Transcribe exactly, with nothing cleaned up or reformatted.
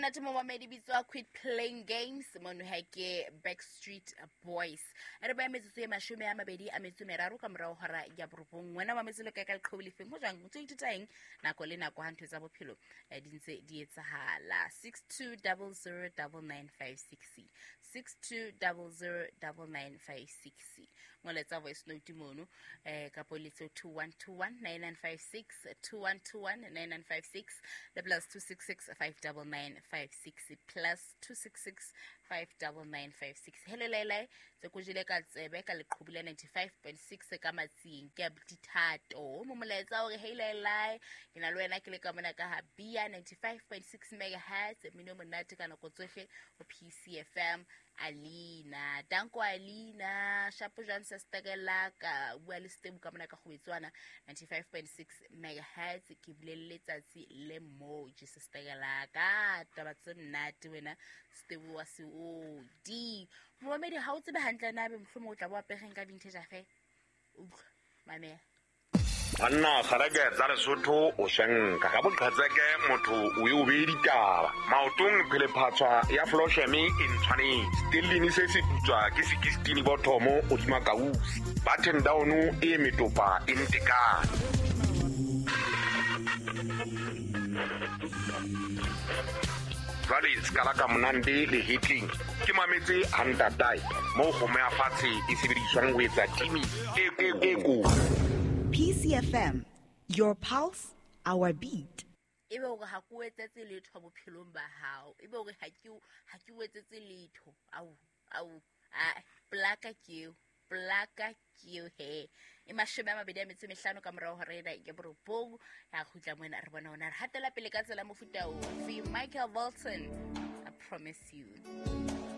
Monate momamedi bitswa Quit Playing Games mono ha ke Backstreet Boys. Re ba metsotso e mashome a mabedi a metso e meraro ka morao hora ya borobong. Wena mametse le kae ka leqhubu lefeng ho jwang o ntso ithuta eng nako le nako ha ntho tsa bophelo eh, di ntse di etsahala. Six two double zero double nine five six six two double zero double nine five six. Ngoletsa voice note mono eh kapo letso two one two one nine nine five six two one two one nine nine five six le plus two six six five double nine five six plus two six six five double nine five six. Hello Lele, tse ko jele ka tsebe ka leqhubu la ninety five point six ka matsing ke dithato. Mo molaetsa hore hey Lele, ke na le wena ke le ka mona ka ha Bia ninety five point six megahertz mmino monate ka nako tsohle ho P C F M. Alina, danko Alina, shapo jwang sister ka bua le Stebu ka mona ka kgobetswana ninety five point six megahertz ke bolelle letsatsi le mo Jesus ka taba tse monate wena Stebu wa se o di momamedi ha o tsebe hantle na be mohlomong o tla bo apereng ka vintage afe utlwa mamela. Banna kgareke tsa Lesotho o shenka ka boqhetseke motho o ye o be ditaba maotong phele phatswa ya flosheme e ntshwanetse stellini se se putswa ke sixteen bothomo o dima kausi button down e metopa e ntekane. Jwale skala ka monande le hitling ke mametse hantatai mo kgomo ya fatshe e sebediswang ho etsa timi e e ko. P C F M, your pulse, our beat. Ebe hore ha ke o etsetse letho bophelong ba hao. Ebe hore ha ke ha ke o etsetse letho. Au, au, a plaka ke eo, plaka ke eo he. E mashome a mabedi a metso e mehlano ka morao hora ena ke borobong. Ya kgutla mona re bona hona re hatela pele ka tsela mofuta ofe. Michael Bolton, I promise you.